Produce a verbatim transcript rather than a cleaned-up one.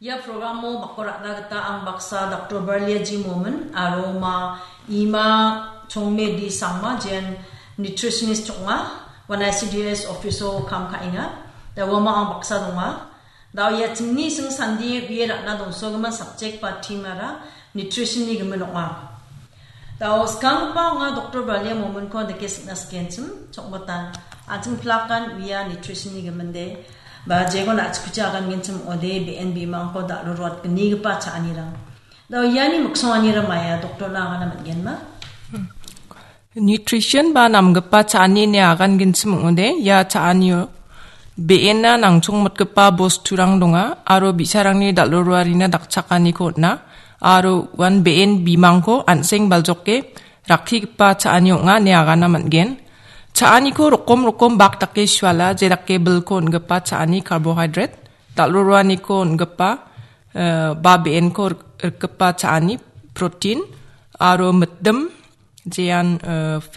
Ia programo bako ra·na gita ang baksa Doktor Barlia G Momin aro ma Ima Chongme D Sangma, jean nutritionist ong·a, ua I C D S office-o kam ka·enga. Da uama ang baksa donga. Da ia chingni sing sandi wie ra·na dongsogimin subject ba theme-ara nutrition-ni gimin ong·a. Da skanggipa ong·a Doktor Barlia Momin-ko dake sikna sikenchim, chokmotan. An·ching plakan uia nutrition-ni giminde. Ba jegon a·chikuchi agangenchim ong·ode, B N B mangko dal·o ruatgnigipa cha·anirang. Da iani miksonganira maia doktorna agana man·genma? Nutrition ba namgipa cha·ani ine agangenchim ong·ode, ia cha·anio be·ena nangchongmotgipa bosturang donga, aro bi·sarangni dal·o ruarina dakchakaniko on·a, aro uan be·en bimangko an·seng baljoke rakkigipa cha·ani ong·a ine agana man·gen. Cha·aniko rokom rokom bak dake suala, je dake bilko on·gipa cha·ani carbohydrate, dal·o ruaniko on·gipa, eh, ba be·enko rik-, rikgipa cha·ani protein, aro mitdim, jean, eh,